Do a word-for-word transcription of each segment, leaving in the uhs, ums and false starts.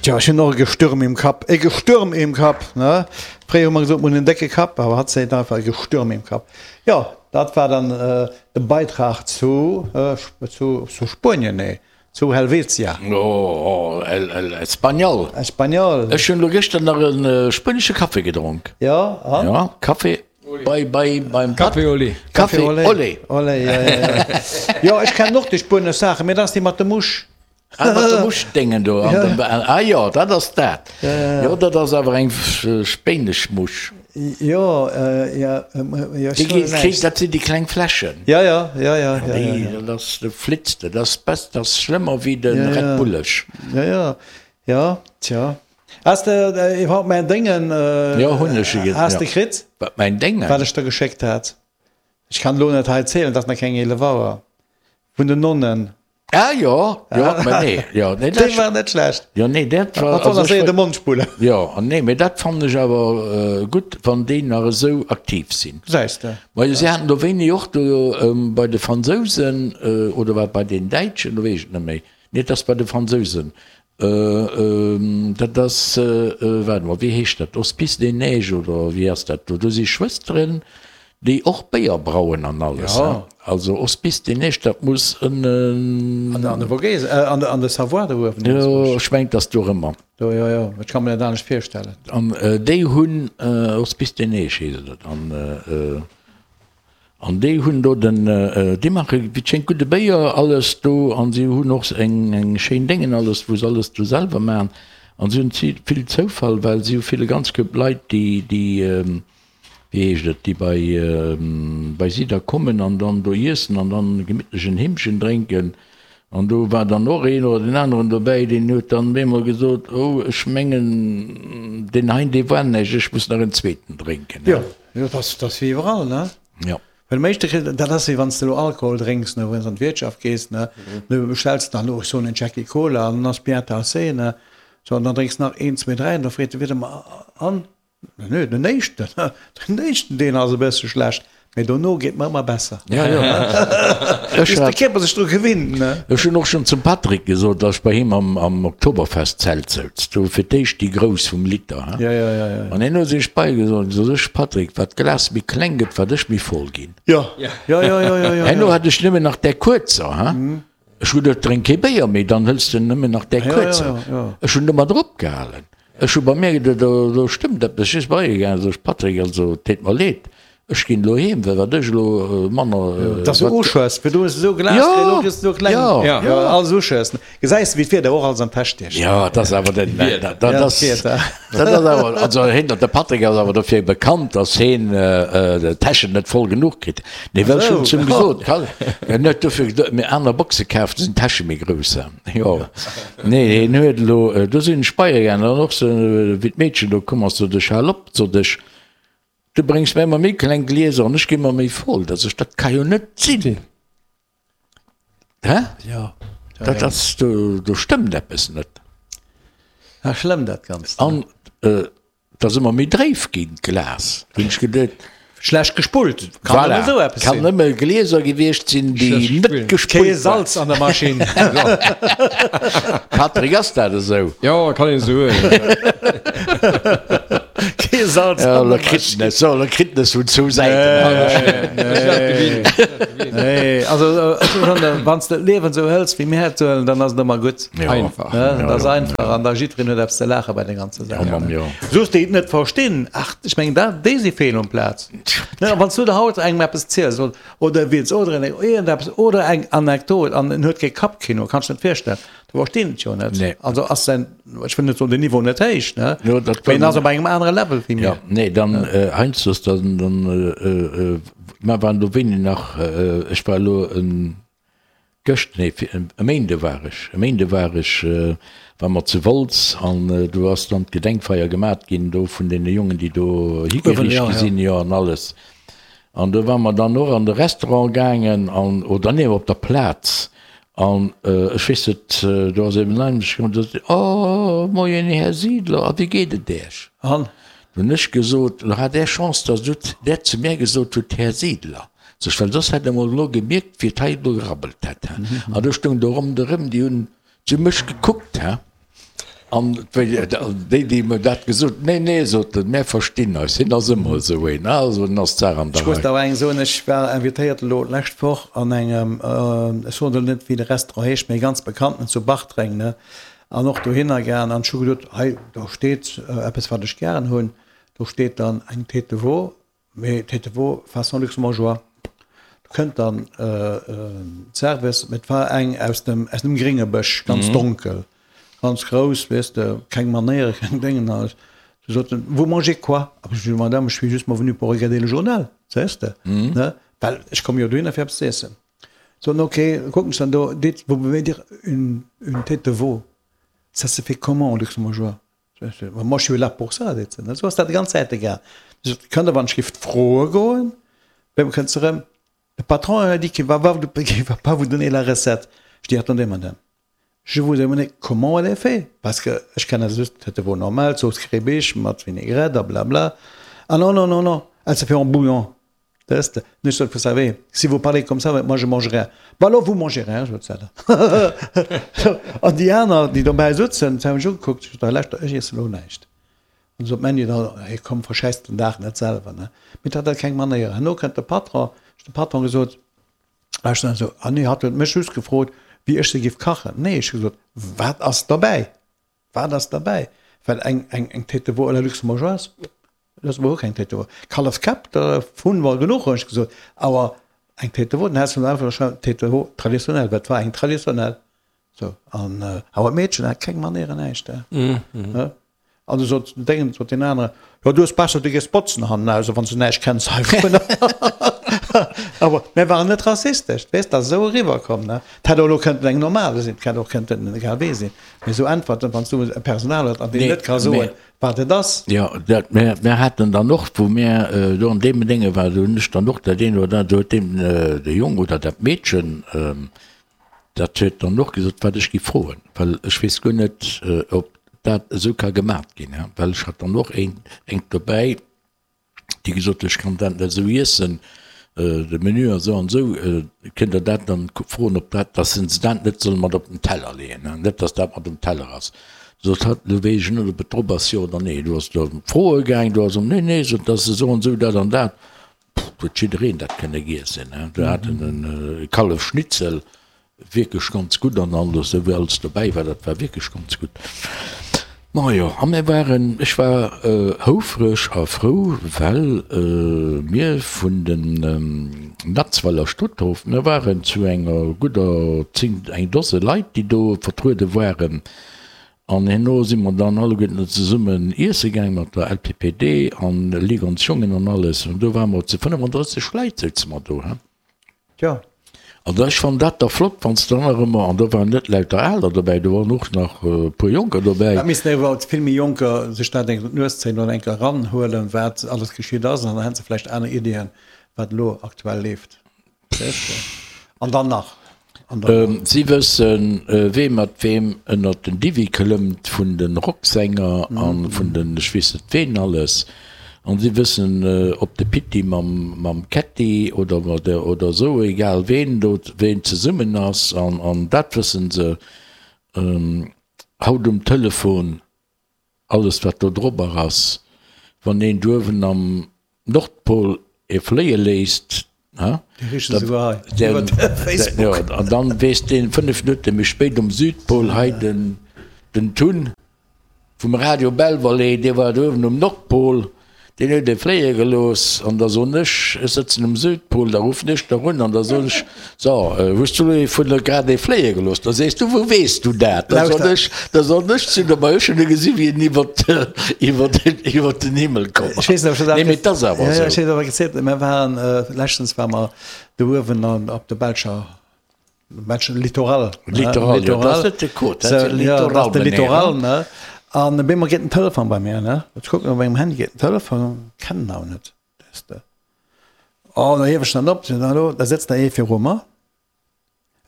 Tja, ech hunn och e Gestürm im Kapp. E Gestürm im Kapp, ne? Fréier hu mer gesot, mer hunn en décke Kapp, awer hatt seet einfach e Gestürm im Kapp. Jo, dat war dann de Beitrag zu, zu, zu Spuenien, nee, zu Helvetia. Oh, el, el Español. Español. Ech hunn elo gëschter nach e spuenesche Café gedronk. Jo, an? Ja, Café bei, bei, beim Café au lait. Café au lait. Au lait, ja, ja, ja. Jo, ech kennen och déi spuenesch Saachen, mee dat ass déi mat de Musch. Ah, mat de Muschdéngen do. An dem, ah jo, dat ass dat. Jo, dat ass awer eng spéinesch Musch. Jo, jo, jo, Déi gi, kritt, dat sinn déi kleng Fläschen. Ja, ja, ja, ja, ja, Déi, ja. dat ass, do flitzt de. Dat ass bess, dat ass schlëmmer wéi de Red Bulleg. Ja, ja, ja, tja. Has de iwwerhaupt mäin Déngen, Jo, hunn ech e, has de kritt? Wat, mäin Déngen? Wat ech der geschéckt hat. Ech kann elo net hei zielen, et ass nach keng eelef Auer. Vun den Nonnen. Ah jo, jo, mä nee, jo, nee, dat war net schlecht. Jo, nee, dat war. Dat war séier de Mond spullen. Jo, an nee, mä dat fannen ech awer gutt, wann déi nach esou aktiv sinn. Gesäis de. Majo, si haten do wéini och do bei de Fransousen, oder war et bei den Däitschen, do weess ech et net méi, nee, et ass bei de Fransousen, dat ass, waart emol, wéi heescht dat, Hospice des Neiges oder wéi ass dat do, do si Schwësteren, Déi och Béier brauen an alles, he? Also Hospice des Neiges, dat muss ënnen. An de Vogesen, an de Savoie do uewen. Jo, ech mengen, et ass do erëmmer. Do, jo, jo, ech ka mer dat anescht virstellen. An déi hunn, Hospice des Neiges heescht et, an, an déi hunn do den, déi maache wéi et schéngt gudde Béier, alles do, an si hunn och eng, eng schéin Déngen, alles, wou se alles do selwer maachen. An si hunn vill Zoufall, well si hu vill e ganz Koup Leit, déi, déi, wéi heescht et, déi bei, bei si da kommen an dann do iessen an dann gemittlech en Heemchen drénken. An do war dann och een oder deen aneren dobäi, deen huet dann op eemol gesot, Oh, ech mengen, deen hein, dee war näischt, ech muss nach en zweeten drénken. Jo, jo, dat ass, dat ass wéi iwwerall, ne? Jo. Well am éischte kritt, dat ass wéi wann s de elo Alkohol drénks, ne, wann s an d'Wirtschaft gees, ne, du bestells dann elo, ech soen en Jackie Cola an dann ass bien tassé, ne, sou, an dann drénks nach een, zwee, dräi an da freet de Wiert ëmmer, An? Nö, den éischten, den éischten deen ass e bësse schlecht, mee dono geet mer ëmmer besser. Ja, ja. Bis de Kierper sech dru gewinnt, ne? Ech hunn och schonn zum Patrick gesot, datt ech bei him am, am Oktoberfest-Zelt souz, do fir d'éischt déi grouss vum Liter, he? Ja, ja, ja, ja. An hien huet sech bei gesot, gesot, ech Patrick, wat d'Glas méi kleng gëtt, wat ech méi voll ginn. Ja, ja, ja, ja, ja, ja. Herno hat ech nëmmen nach där kuerzer, he? Ech hu geduet, drénk kee Béier méi, dann hëls de nëmmen nach där kuerzer. Ech hunn domat eropgehalen. Ech hu bei mir geduet, do, do stëmmt eppes. Ech si bei e gaangen, sot ech, Patrick, also et deet mer leed, ech ginn elo heem, well wat ech elo manner. Dass du uschëss, fir du hues esou Glas kritt, elo kriss du esou kleng. Jo, jo, alles uschëssen. Gesäis de, wéi d'Wieder och alles an d'Täsch stiecht. Jo, et ass awer den, dat ass, dat ass awer, also hien, de Patrick ass awer dofir bekannt, dass hien d'Täschen net voll genuch kritt. Nee, well ech hunn zu him gesot, en huet dofir mir aner Boxe kaf, do sinn d'Täsche méi grouss. Jo, nee, hien huet elo, do sinn ech bei e gaangen, an och sou, wéi d'Meedchen do komm ass, sot ech, hal op, sot ech, du bréngs mir ëmmer méi kleng Glieser an ech gi ëmmer méi voll. Da sot ech, dat ka jo net sinn, hä? Jo. Dat ass, do, do stëmmt eppes net. Ja, schlëmm dat Ganzt. An Et ass ëmmer méi dréif ginn, d'Glas. Hunn ech geduet. Schlecht gespullt. Kann Voilà. nëmme esou eppes Kann sinn. nëmme Glieser gewiescht sinn, déi Schlecht net gespullt. Kee gespullt waren. Salz an der Maschinn. Patrick, ass dat esou? Jo, kann een esou soen. Kee Salz Ja, an lo der kritt Maschinn. en es, so, lo kritt en es vun zwou Säiten. Nee, nee. Also, ech hu schonn, wann s de d'Liewen esou hëls, wéi mir et huelen, dann ass et ëmmer gutt. Ja. Einfach. Ne? Ja, Dat ass ja. einfach an da jiddwereen huet eppes ze laache bei de ganze Ja, Saachen. Mamm, jo. Soos déi et net verstinn, ach, ech mengen dat, déi si fehl um Plaz. Ne, wann s du der haut engem eppes ziels oder, oder e Witz oder en iergendeppes oder eng Anekdot an en huet kee Kappkino, kanns de net virstellen, du verstinn et jo net. Nee. Also ass säin, ech wëll net soen, den Niveau net héich, ne, Jo, dat mee en ass op engem anere Level wéi mir. Ja, nee, dann äh, heiansdo dann, dann äh, äh, mer waren do wéini nach, äh, ech war elo en Gëscht, nee, e Méinde war ech, e Méinde war ech, war mer zu Wolz an do ass dann d'Gedenkfeier gemat ginn do vun deene Jongen, déi do higeriicht gi sinn, jo, an alles. An do ware mer dann och an de Restaurant gaangen an, oder nee, op der Plaz an ech weess net, do ass eben en Einheimesche komm, sot, Oh, moien Här Siedler, a wéi geet et Iech? An? Do hunn ech gesot, Lo hat Där Chance, datt Der zu mär gesot hutt, Här Siedler. Sech, well soss hätt e mol elo gemierkt, wéi et hei elo gerabbelt hätt, he. An do stoung do ronderëm, déi hunn zu mech gekuckt, he. An déi, déi mer dat gesot, Nee, nee, sot en, mär verstinn eis, hien ass ëmmer esou een, also en ass d'Saach an der Rei. Ech muss der awer eng soen, Ech war invitéiert elo d'lescht Woch an engem, ech soen elo net, wéi de Restaurant heescht, mee e ganz bekannten zu Bartreng, ne, an och dohinner gaang an ech hu gesot, hei do steet eppes, wat ech gären hunn, do steet dann eng Tête de veau, Mee Tête de veau façon luxembourgeois. Do kënnt dann d'Service, mee et war eng aus dem, aus dem grénge Bësch, ganz donkel, ganz grouss, weess de, keng Manéiere, keng Déngen. A se soten, Vous mangez quoi? A ech sot, Madame, je suis justement venu pour regarder le journal, weess de, ne, well ech komme jo dohinner fir eppes ze iessen. Soten, Ok, kucken ech dann do, dites, vous pouvez dire une, une tête de veau, ça se fait comment en luxembourgeois? Moi je suis là pour ça, seet se. Esou ass dat déi ganz Zäite gaang. Si sot, Kënnt Der wann ech giff froe goen? Wéi kënnt se erëm, Le patron a dit qu'il va qu'il va pas vous donner la recette. Je dis, Attendez madame, je vous ai demandé comment elle est fait, parce que ech kennen just d'Tête de veau normale, Zooss Kribisch mat Vinaigrette a blabla. Ah non, non, non, non, elle se fait en bouillon. Weess de, ech sot, vous savez, si vous parlez comme ça, moi je mange rien. Bah alors vous mangez rien, sot se dann. An déi aner, déi dobäi sutzen, se hu mech ugekuckt, ech sot, lauschter, ech iessen elo näischt. An du sot d'Mandy dann, hey komm, verschäiss den Dag net selwer, ne. Mee dat hat keng Manéier. Herno kënnt de Patron, ech hu dem Patron gesot, lauschter, esou, ah nee, hatt huet mech just gefrot, wéi ech se giff kachen. Nee, ech hu gesot, wat ass dobäi? Wat ass derbäi? Well eng, eng, eng Tête de veau à la luxembourgeoise, dat ass iwwerhaupt keng Tête de veau. Kallefkäpp, der hunn mer genuch, hunn ech gesot. Awer eng Tête de veau, dann häss de einfach geschriwwen, Tête de veau traditionnelle, well et war eng traditionnelle. Sou, an awer d'Meedchen hat keng Manéieren, näischt, he. An du sot den Déngen, sot deen anere, Jo, du hues besser, du gees botzen hannen aus, wann s du näischt kenns heivunner. Awer mir waren net rassistesch, weess, dat ass esou eriwwerkomm, ne. Et hätt och elo kënnten eng normal sinn, et hätt och kënnten egal wee sinn. Mee esou Äntwerten, wann s du e Personal huet an deen net ka soen, wat et ass. Jo, dat, mir, mir haten dann och, wou mir do an deem Dénge waren, do hunn ech dann och dat eent oder dat, do huet deen, de Jong oder dat Meedchen, Dat huet dann och gesot, wat ech gi froen, well ech weess guer net, ob dat esou ka gemat ginn, well ech hat dann och een, eng dobäi, déi gesot huet, ech kann dat net esou iessen, de Menü ass esou an esou, kënnt Der dat dann froen, ob dat, dass se dat net solle mat op den Teller leeën, net dass dat mat um Teller ass. Sot hatt, elo weess ech net, ob et drop ass, jo oder nee. Do ass et ëm Froe gaang, do ass ëm, nee, nee, sot, dat ass esou an esou, dat an dat. Pff, huet jiddereen dat kënne giessen, he. Do hat en e Kallefschnitzel, wierklech ganz gutt an alles, esou wéi alles dobäi war, dat war wierklech ganz gutt. Majo, a mir waren, ech war houfreg a frou, well mir vun den Natzweiler Stutthof, mir waren zu enger gudder zéng, eng Dose Leit, déi do vertruede waren. An herno si mer dann alleguerten zesummen iesse gaang mat der L P P D an Ligue ons Jongen an alles. An do ware mer zu fënnefandrësseg Leit souze mer do, he. Tjo. An ech fannen dat da flott, wann s de dann nach ëmmer, an do waren net lauter Aler dobäi, do waren och nach e puer Jonker dobäi. Et missten iwwerhaupt vill méi Jonker sech dat eng d'Nues zéien oder eng Kéier eranhuelen, wat alles geschitt ass, an dann hätte se vläicht aner Iddien, wat elo aktuell leeft. An dann nach. Si wëssen, wee mat weem ënnert den Diwwi klëmmt vun de Rocksänger a vun den ech weess net ween alles. An si wëssen, ob de Pitti mam Kätti oder oder esou, egal ween do ween zesummen ass. An dat wëssen se haut um Telefon. Alles wat do drobber ass, wann een duerwen am Nordpol ee fléie léisst, ha, an dann weess deen fënnef Minutte méi spéit um Südpol, hei den den Tun vum Radio Belval, dee war duerwen um Nordpol, Deen huet e fléie gelooss an da soen ech, ech sëtzen um Südpol, da ruffen ech der un an da soen ech, so, hues du elo vun der grad ee fléie gelooss? Da sees du, wou weess du dat? Da soen ech, da soen ech zu der, ma ech hunn e gesi wéi en iwwert, iwwert, iwwert den Himmel komm ass. Nee, mee et ass awer esou. Ech weess net, ob ech dat gezielt hunn, mir waren, leschtens ware mer do uewen op der belscher Welchen Littoral? Littoral, jo, dat ass net de Côte, dat ass de Littoral. De Littoral, ne? An op eemol geet den Telefon bei mir, ne? Ech kucken op mengem Handy, geet den Telefon, kennen awer net, weess de. Oh, da hiew ech dann op, seet hallo, da sëtzt da ee viru mer.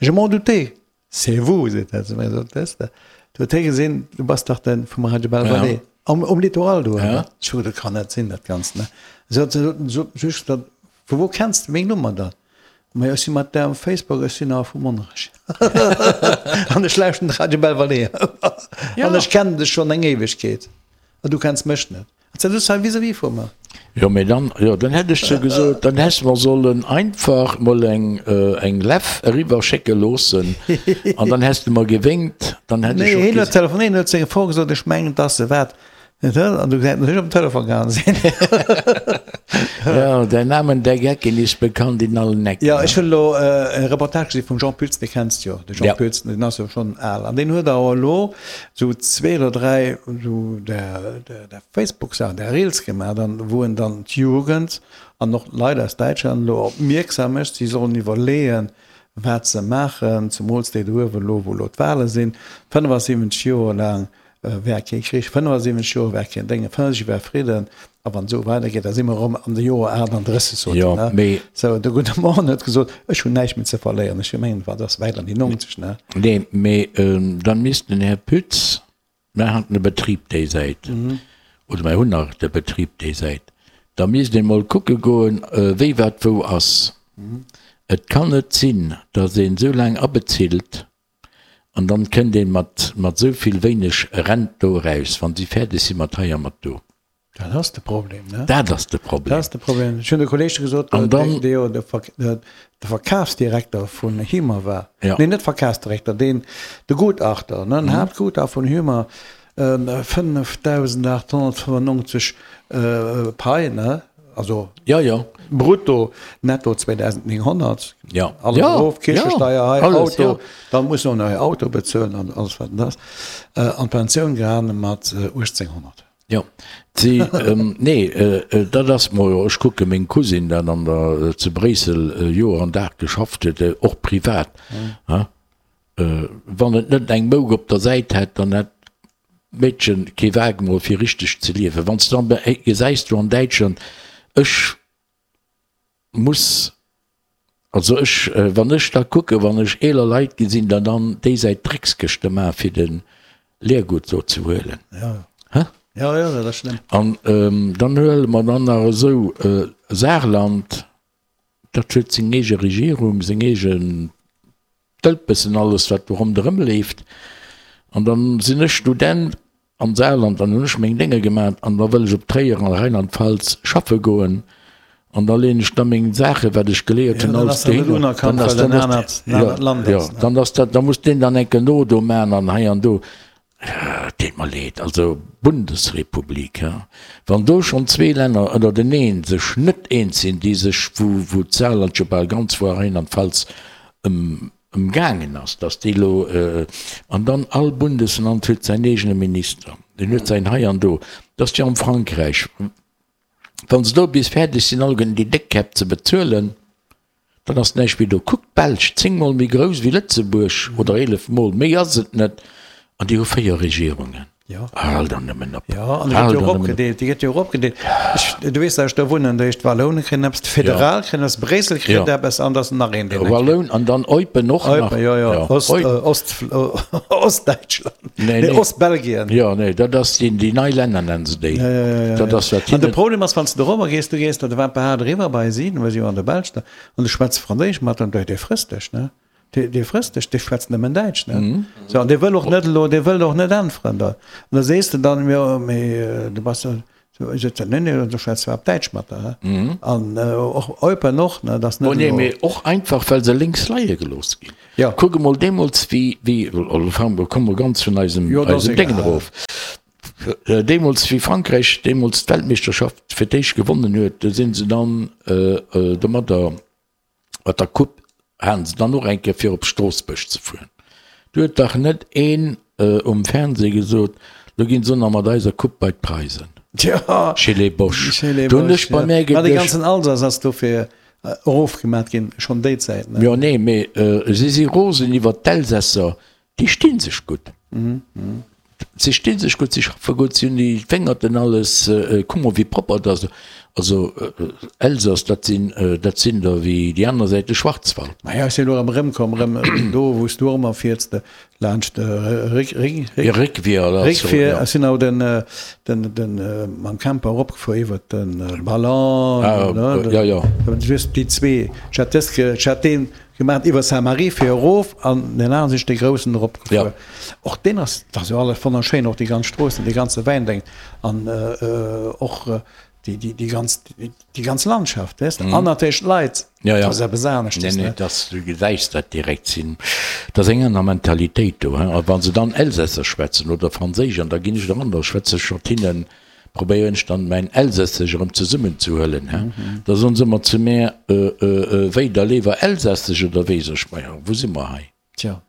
Je m'en doutais, c'est vous, seet dat zu mir, sot, weess de. Du huet hie gesinn, du bass dach de vum Radio Belval, um, um Littoral do. Ech sot, dat kann net sinn, dat Ganzt, ne? Sot, sot, sot, just, vu wou kenns de meng Nummer dann? Majo, ech si mat där um Facebook, ech sinn awer vu Monnerech. An ech lauschten de Radio Belvalée. An ech kennen dech schonn eng Éiwegkeet. A du kenns mech net. An s du sëtz hei vis-à-vis vu mer. Jo, mee dann, jo, dann hätt ech sou gesot, dann häss mer sollen einfach mol eng, eng Leff eriwwer schécke loossen an dann häss de mer gewénkt, dann hätt ech Nee, och hien huet ges. telefonéiert, hien huet seng Fro gesot, ech mengen, dass se wat, an du hätt ech um Telefon gehaen sinn. Ja, der Namen der Gecken ist bekannt in allen Ecken. Jo, ech hunn elo e Reportage gesi vum Jean Pütz, dee kenns de jo, de Jean Ja. Pütz, deen ass jo schonn al, an deen huet awer elo esou zwee oder dräi esou där, där Facebook-Saachen, där Reels gemaach, dann, wou en dann d'Jugend an och d'Leit aus Däitschland elo opmierksam mécht, si sollen iwwerleeën, wat se maachen, zemools déi do uewen elo, wou elo d'Wale sinn, fënnefasiwwenzeg Joer laang war kee Krich, fënnefasiwwenzeg Joer war keen Déngen, fënnefasiwwenzeg war Fridden, a wann et esou weidergeet, da si mer erëm an de Joer aachtanddrësseg, sot Jo, en, ne? mee. Sou, de gudde Mann huet gesot, ech hunn näischt méi ze verléieren, ech mengen, wat ass wäit an déi nonzeg, ne? Nee, mee dann misst den Här Pütz, mer haten e Betrib déi Säit, oder mer hunn nach de Betrib déi Säit, da misst ee mol kucke goen, wéi wat wou ass. Et kann net sinn, datt een esou laang abezilt, An dann kënnt een mat mat esou vill wéineg Rent do eraus, wann si fäerdeg si mat hei a mat do. Dat ass de Problem, ne? Dat ass de Problem. Dat ass de Problem. Ech hunn de Kolleeg gesot, An dann. dee jo de Verkafsdirekter vun Hymer war, Ja. nee, net Verkafsdirekter, deen, de Gutachter, ne, den Haaptgutachter vun Hymer, fënnefdausendachthonnertfënnefundneunzeg Pai, ne? Also ja, ja. brutto, netto zweedausendnénghonnert. Ja. Alles ja. erof, Kirchesteier, ja. hei, alles, Auto, ja. dann muss noch nei Auto bezuelen an alles wat das. Äh, an d'Pensioun gehanen mat äh, achthonnert. Ja, sie, ähm, nee, äh, äh, dat ass mol, ech kucke meng Cousine dat an der äh, zu Bréissel äh, Joer an Dag geschafft huet, äh, och privat. Mhm. Ja? Äh, wann et net eng Mouk op der Säit hätt, dann hätt d'Meedchen kee Wag mol fir richteg ze liewen. Wann s de dann gesäis do an Däitschland, ech muss, also ech, wann ech da kucken, wann ech eeler Leit gesinn, da dann déi Säit Dreckskëschte maachen, fir de Leergut do ze huelen. Ja. Hä? Ja, ja, dat ass schlëmm. An dann huele mer dann nach esou Saarland, dat huet seng eege Regierung, seng eegen Dëlpessen, alles wat do ronderëm leeft. An dann sinn ech Student am Saarland, dann hunn ech meng Dénge gemaat an da wëll ech op Tréier an Rheinland-Pfalz schaffe goen an da leeën ech da meng Saache wat ech geléiert Ja, hunn dann alles ass dat net dohinner. unerkannt, Dann ass well dann en ass anert, en ja, anert Land ja, ass, ne? dann ass dat, da muss deen dann enke no do man an hei an do. Et deet mer leed, also Bundesrepublik, he, wann do schonn zwee Länner ënnerteneen sech net eens sinn, déi sech, wou, wou d'Saarland jo bal ganz voar Rheinland-Pfalz ëm, ëmgaangen ass, datt déi elo, an dann all Bundesland huet säin eegene Minister, deen huet säin hei an do, dat ass jo am Frankräich, wa se do bis fäerdeg sinn alleguerten déi déck Käpp ze bezuelen, dann ass näischt méi do. Kuckt d'Belsch, zéng Mol méi grouss wéi Lëtzebuerg oder eelef Mol, méi ass et net, an déi hu véier Regierungen. Jo. Hal der nëmmen op. Jo, an déi gëtt jo och opgedeelt, déi gëtt jo och opgedeelt. Ech, du weess, datt ech do wunnen, dat heescht, d'Walloune kréien eppes, d'Föderal kréien eppes, Bréissel kritt eppes an da ass nach een, deen eng kritt. Walloun an dann Eupen och nach. Eupen, jo, jo, Ost, Ost, Ostdäitschland, Nee, nee, nee. Ostbelgien. Jo, nee, dat ass déi, déi nei Länner nennen se déi. Jo, jo, jo, jo. Dat ass wat An de hinnen. Problem ass, wann s de dorobber gees, du gees da de Wampehard eriwwer bei si, well si jo an der Belsch da, an du schwätz Franséisch mat, an dee frësst dech, ne? Dee, dee frësst dech, dee schwätzt nëmmen Däitsch, ne? Sou, an dee wëll och net elo, dee wëll och net äntweren da. An da sees de dann, jo, mee du bass jo, sou, seet en, nee, nee, du schwätz zwar op Däitsch mat der, he? An och Eupen och, ne, dat ass Oh net nee, elo. mee och einfach, well se lénks leie gelooss ginn. Jo. Kuck emol deemools, wéi, wéi, elo fange mer, komme mer ganz vun eisem, Jo, dat ass eisem Déngen egal. erof. Deemools, wéi Frankräich deemools d'Weltmeeschterschaft fir d'éischt gewonnen huet, do si se dann domadder, Mat der Coupe haten se dann och eng Kéier fir op Stroossbuerg ze fueren. Do huet dach net een um Fernseh gesot, lo ginn se och nach mat eiser Coupe bei d'Preisen. Jo, Chez les Boches. Chez les Do hunn Boches, ech bei jo. mär Ma de geduecht. ganzen Alsace ass dofir erofgemat ginn, schonn déi Zäit, ne? Jo, nee, mee si si rosen iwwert d'Elsässer, déi sti sech gutt. Si sti sech gutt, si schaffe gutt, si hunn déi Wéngerten alles, kuck mol wéi propper dat ass. Also Elsass, dat sinn, dat sinn der wéi déi aner Säit de Schwarzwald. Maja, ech sinn elo erëm erëmkomm, erëm do wou s du och ëmmer fiers, de laanscht de Réck, Réck, Réck, Ja, Réckwier, oder so, Réckwier. ja. Ech sinn awer den, den, den mam Camper eropgefuer iwwert de Ballon, Ah, ne, ja, ja. just déi zwee. Ech hat dës, ech hat deen gemaach iwwer Saint-Marie fir erof an deen aneren sinn ech dee groussen eropgefuer. Ja. Och deen ass, dat ass jo alles wonnerschéin, och déi ganz Stroossen, dee ganze Wäindeng an och Déi, déi, déi ganz, déi ganz Landschaft, weess de, an natierlech d'Leit, Ja, ja. dat ass eppes aneschtes, Nee, nee, ne? dass, du gesäis dat direkt, sinn, dat ass eng aner Mentalitéit do, hein. A wa se dann Elsässesch schwätzen oder Franséisch, an da ginn ech eran, da schwätze ech mat hinnen, probéieren ech dann mäin Elsässesch erëm zesummenzehuelen, hein. Da soen se ëmmer zu mär, Wéi, da léiwer Elsässesch oder wéi? Sag ech, Maja, wou si mer hei? Tja.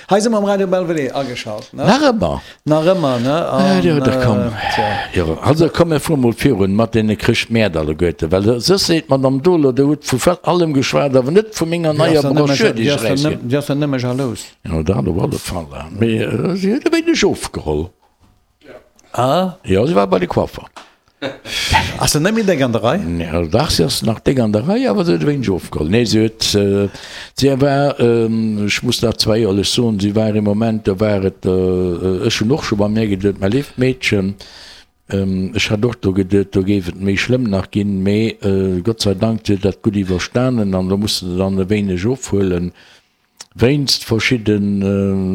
Hei si mer am Radio Belvedere ageschalt, ne? Nach ëmmer? Nach ëmmer, ne? An, jo, da komm. Tja. Jo, also komm, mir fuere mol virun mat deene Chrëschtmäert alleguerte, well soss seet d'Madame Dohler, Der hutt vu allem geschwat, awer net vu menger neier Broschür, déi ech erausginn. Déi ass der nëmme jalous. Jo, dat op alle Fall. Mee si huet e wéineg ofgeholl. Ah? Jo, si war bei de Coiffer. Ass se net méi déck an der Rei? Jo, dach, si ass nach déck an der Rei, awer se huet e wéineg ofgeholl. Nee, si huet, si war, ech muss dat zwar éierlech soen, si war ee Moment, do war et, ech hunn och scho bei mär geduet, mä léift Meedchen, ech hat och do geduet, do géif et méi schlëmm nach ginn, mee Gott sei Dank, si huet dat gutt iwwerstanen an do muss se dann e wéineg ofhuelen. Wéinst verschidde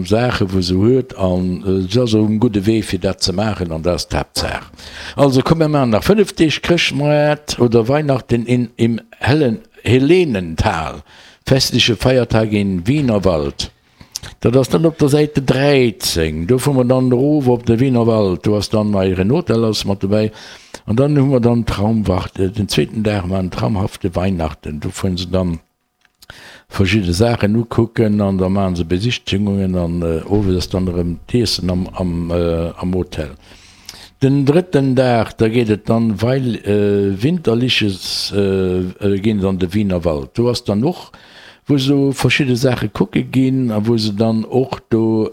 Saache wou se huet an se ass um gudde Wee fir dat ze maachen an dat ass d'Haaptsaach. Also komm mir maachen nach fënnef Deeg Chrëschtmoart oder Weihnachten in im hellen Helenental, festliche Feiertag in Wienerwald. Dat ass dann op der Säite dräizéng. Do fuere mer dann erof op de Wienerwald, do ass dann eieren Hotel ass mat dobäi an dann hu mer dann Traumwacht, den zweeten Dag waren traumhafte Weihnachten, do fueren se dann verschidde Saachen ukucken an da maachen se Besichtigungen an owes ass dann erëm d'Iessen am am Hotel. Den drëtten Dag, da geet et dann weil winterliches ginn se an de Wienerwald. Do ass dann och wou se do verschidde Saache kucke ginn a wou se dann och do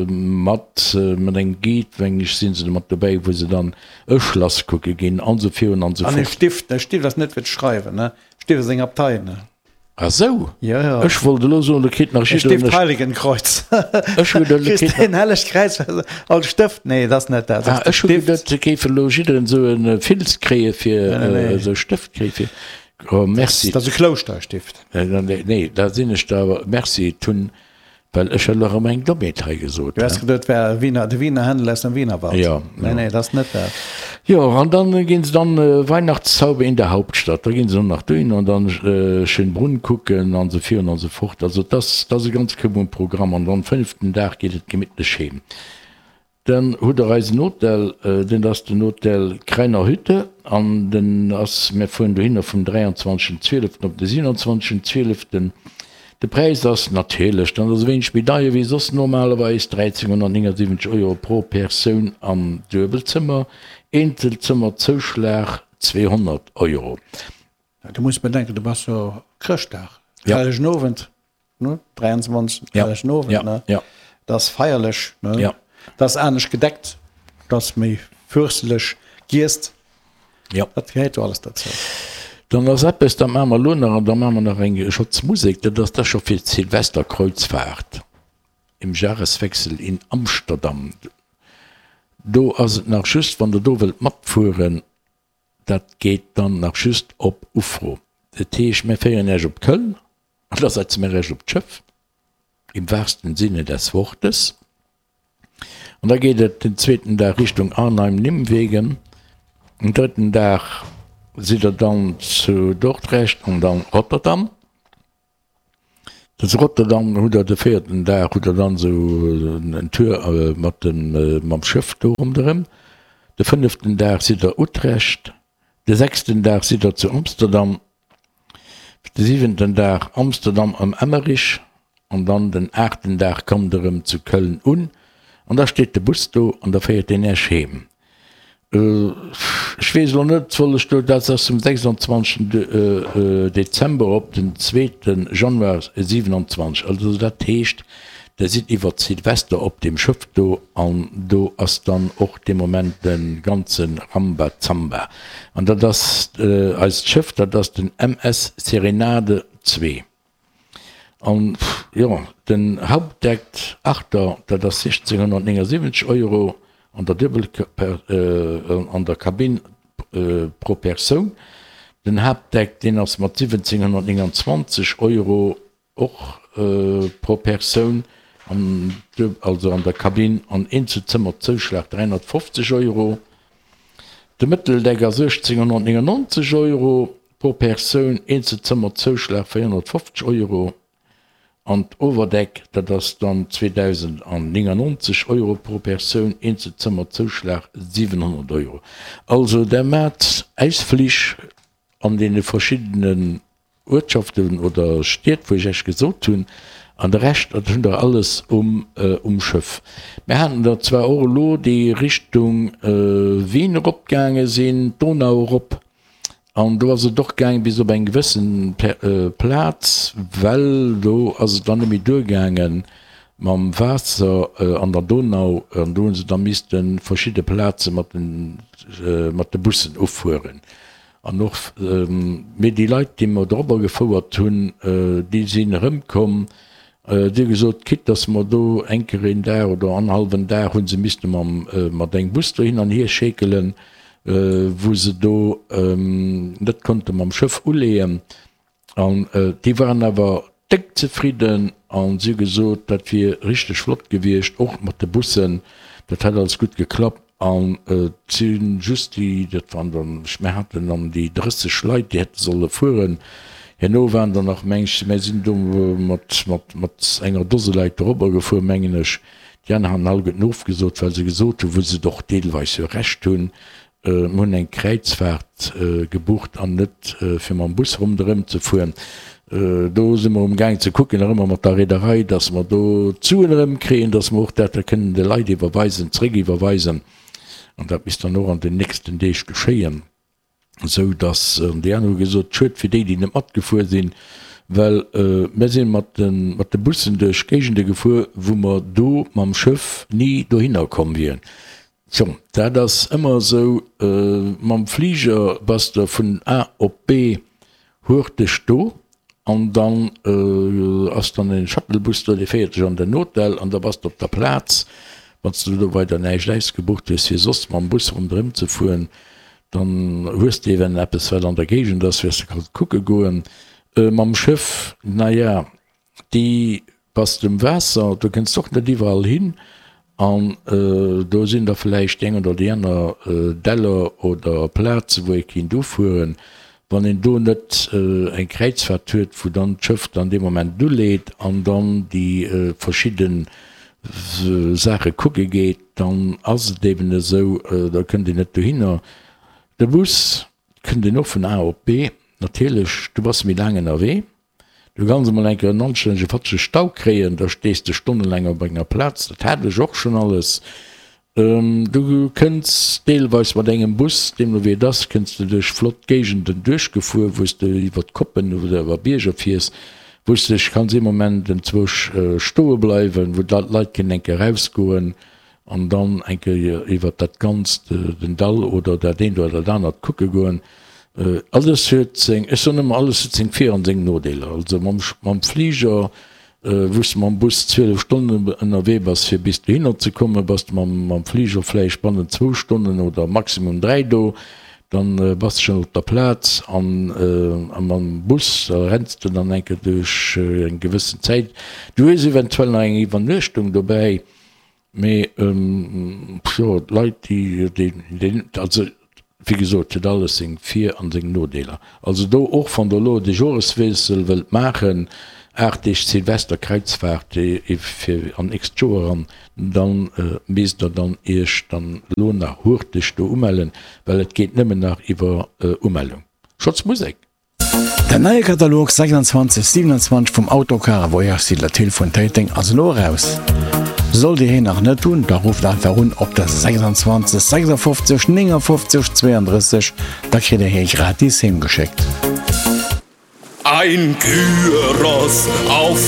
mat mat engem Guide, meng ech, si se do mat dobäi, wou se dann e Schlass kucke ginn an esou virun an esou An e fort. Stift, e Stift ass net fir ze schreiwen, ne? Stift ass eng Abtei, ne? Ah sou, Jo, jo. ech wollt elo soen, do kritt nach E jidderen Stift e Heiligenkreuz. Ech hu geduet, do Kriss kritt de en hellegt Kräiz als Stëft? Nee, dat ass net dat. Ah, ech hu geduet, se géife elo jidderen esou e Filz kréie fir Nee, nee, nee. esou e Stëft kréie fir. Oh, merci. Dat ass e Klouschterstift. Nee, nee, da sinn ech der awer, merci, et hunn Well ech hat elo erëm eng Dommheet hei gesot. Du häss geduet, et wär Wiener, de Wiener Händel aus dem Wienerwald. Jo. Nee, nee, dat ass net dat. Jo, an dann ginn se dann Weihnachtszauber in der Hauptstadt, da ginn se dann nach dohin an dann Schönbrunn kucken an esou virun an esou fort. Also et ass, et ass e ganz koup um Programm an dann fënneften Dag geet et gemittlech heem. Dann hutt der eisen Hotel, den ass den Hotel Kreiner Hütte an den ass, mir fueren dohinner vum dräianzwanzegsten zwieleften op de siewenundzwanzegsten zwieleften. De Präis ass natierlech dann ass e wéineg méi deier wéi soss normalerweis, dräizénhunnertnéngundsiwwenzeg Euro pro Persoun am Duebelzëmmer, Eenzelzëmmerzouschlag zweehonnert Euro. Du muss bedenken, du bass jo Chrëschtdag, Ja. Hellegen Owend, ne? dräianzwanzeg. Ja. Hellegen Owend, Ja, ne? ja. Dat ass feierlech, ne? Ja. Dat ass anescht gedeckt, dat ass méi fürsteleg giesst. Ja. Dat gehéiert jo alles dozou. Dann ass eppes, dat maache mer elo nach an da maache mer nach eng Schotz Musek, dat ass da scho fir d'Silvesterkreuzfahrt im Jahreswechsel in Amsterdam. Do ass et nach just, wann Der do wëllt matfueren, Dat geet dann nach just op Ufro. Dat heescht, mir féieren Iech op Köln an da setze mir Iech op d'Schëff, im wahrsten Sinne des Wortes. An da geet et den zweeten Dag Richtung Arnheim-Nimwegen. Den drëtten Dag sidd Der dann zu Dordrecht an dann Rotterdam. Zu Rotterdam hutt Der de véierten Dag hutt Der dann esou en Tour mat dem mam Schëff do ronderëm. De fënneften Dag sidd Der Utrecht, de sechsten Dag sidd Der zu Amsterdam, de siwenten Dag Amsterdam am Emmerich an dann den aachten Dag kommt Der erëm zu Köln un an da steet de Bus do an da féiert deen Äech heem. Ech weess elo net, soll ech do, dat ass vum sechsundzwanzegsten Dezember op den zweete Januar siewenundzwanzeg, also dat heescht Der sidd iwwert Silvester op deem Schëff do an do ass dann och dee Moment de ganze Rambazamba. An dat ass eist Schëff, dat ass den MS Serenade zwee. An jo, den Hauptdeck Achter, dat ass siechzénhunnertnéngasiwwenzeg Euro an der Duebel an der Kabinn pro Persoun. Den Haaptdeck, deen ass mat siwwenzénhunnertnénganzwanzeg Euro och pro Persoun, an also an der Kabinn an Eenzelzëmmerzouschlag dräihunnertfofzeg Euro. De Mëtteldeck ass uechtzénhunnertnéngannonzeg Euro pro Persoun, Eenzelzëmmerzouschlag véierhunnertfofzeg Euro. An d'Owerdeck, dat ass dann zweedausendnéngannonzeg Euro pro Persoun, Eenzelzëmmerzouschlag siwenhonnert Euro. Also der maat Ausflich an deene verschiddenen Uertschaften oder Stied, wou ech Iech gesot hunn, an de Rescht, dat hunn der alles um um Schëff. Mir haten der zwar och elo, déi Richtung Wien eropgaange sinn, d'Donau erop, an do ass et och gaang bis op eng gewëssen Plaz, well do ass et dann net méi duergaange mam Waasser an der Donau, an do hu se da misste verschidde Plaze mat den mat de Bussen ufueren. An och, mee déi Leit, déi mer dorobber gefouert hunn, déi sinn erëmkomm, déi hu gesot, quitte dass mer do eng Kéier een Dag oder annerhallwen Dag hu se misste mam, mat engem Bus do hin an hier schékelen, wou se do net konnte mam Schëff uleeën. An déi waren awer déck zefridden a si hu gesot, dat wier richteg flott gewiescht, och mat de Bussen, dat hätt alles gutt geklappt. An et si just déi, dat waren dann, ech, mir haten dann déi drësseg Leit, déi hätte solle fueren. Herno waren der nach, meng ech, mir sinn do mat, mat, mat enger Dose Leit dorobber gefuer, mengen ech. Déi aner haten alleguerten ofgesot, well se gesot hunn, wou se et och deelweis jo Recht hunn, Mir hunn eng Kräizfaart gebucht an net fir mam Bus ronderëm ze fueren. Do si mer umgaang ze kucken, nach ëmmer mat der Reederei, dass mer do d'Suen erëmkréien, dass mer och dat da kënnen de Leit iwwerweisen, zréckiwwerweisen. An dat misst dann och an den nächsten Deeg geschéien, esou dass, an déi aner hu gesot, schued fir déi, déi net matgefuer sinn, well mir si mat de mat de Bussen duerch Géigende gefuer, wou mer do mam Schëff ni dohinner komm wieren. Tjo, dat ass ëmmer esou, mam Fliger bass de vun A op B hurteg do an dann ass dann en Shuttlebus do, dee féiert dech an den Hotel an da bass de op der Plaz. Wann s de do weider näischt ausgebucht hues fir soss mam Bus ronderëm ze fueren, dann hues de eventuell eppes wat an der Géigend ass, wou s de kanns kucke goen. Mam Schëff, naja, déi bass de um Waasser, do kënns de och net iwwerall hin an do sinn da vläicht déi eng oder déi aner Däller oder Plaze wou ee kinnt ufueren. Wann een do net eng Kräizfaart huet, wou dann d'Schëff dann dee Moment uleet an dann déi verschidde Saache kucke geet, dann ass et eben esou, da kënnt een net dohinner. De Bus kënnt een och vun A op B, natierlech, du bass méi laang ënnerwee. Du kanns emol eng Kéier en anstännege fatschege Stau kréien, da stees de stonnelaang op enger Plaz, dat hat ech och schonn alles. Du kënns deelweis mat engem Bus, deemno wéi et ass, kënns de duerch flott Géigenden duerchgefuer, wou s de iwwer d'Koppen oder iwwer Bierger fiers, wou s de dech kanns ee Moment enzwousch stoe bleiwen, wou d'Leit kënnen eng Kéier erausgoen. An dann eng Kéier iwwert dat Ganzt, den Dall oder dat eent oder dat anert kucke goen. Alles huet seng, ech soen ëmmer, alles huet seng Vir an seng Nodeeler. Also mam, mam Fliger, wou s de mam Bus zwielef Stonnen ënnerwee bass, fir bis dohinner ze kommen, bass de mam, mam Fliger vläicht bannent zwou Stonnen oder maximum dräi do. Dann bass de schonn op der Plaz. An, a mam Bus, da renns de dann eng Kéier duerch eng gewëssen Zäit. Du hues eventuell nach eng Iwwernuechtung dobäi. Mee jo, d'Leit déi, déi, also wéi gesot, huet alles seng Vir an seng Nodeeler. Also do och wann der elo de Joreswiessel wëllt maachen, aacht Deeg Silvesterkräizfaart fir an nächst Joer eran, dann misst der dann iech dann elo nach hurteg do umellen, well et geet nëmmen nach iwwer Umellung. Schotz Musek! Den neie Katalog sechsundzwanzeg siewenundzwanzeg vum Autocar a Voyage Site Latille vun Téiteng ass elo eraus. Sollt Dir heen nach net hunn, da rufft einfach un op der sechsundzwanzeg sechsundfofzeg néngundfofzeg zweiunddrësseg, da kritt Dir hee gratis heem geschéckt. Ein Gyros auf